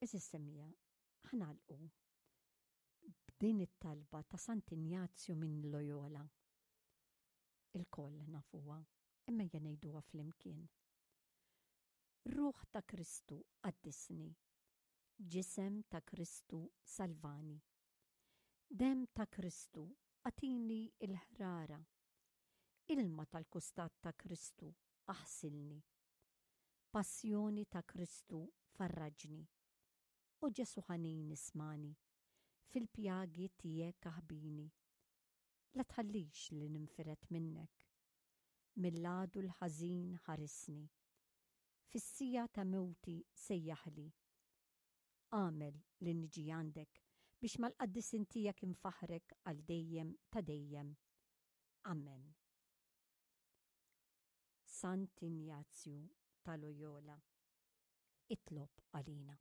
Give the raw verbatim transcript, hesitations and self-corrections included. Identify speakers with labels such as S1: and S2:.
S1: Għeżież semmiegħa, ħa nagħlqu b'din it-talba ta' Sant'Injazju minn Loyola. Ilkoll nafuha, imma ejja ngħiduha flimkien. Ruħ ta' Kristu qaddisni, ġisem ta' Kristu salvani. Demm ta' Kristu agħtini l-ħrara. Ilma tal-kustat ta' Kristu aħsilni. Passjoni ta' Kristu farraġni. O Ġesù ħanin ismagħni, fil-pjagi tiegħek aħbini. La tħallix li ninfired minnek. Mill-għadu l-ħażin ħarisni. Fis-siegħa ta' mewti sejjaħli. Agħmel li niġi għandek biex mal-qaddisin tiegħek infaħħrek għal dejjem ta' dejjem. Amen. Sant'Injazju ta' Loyola, itlob għalina.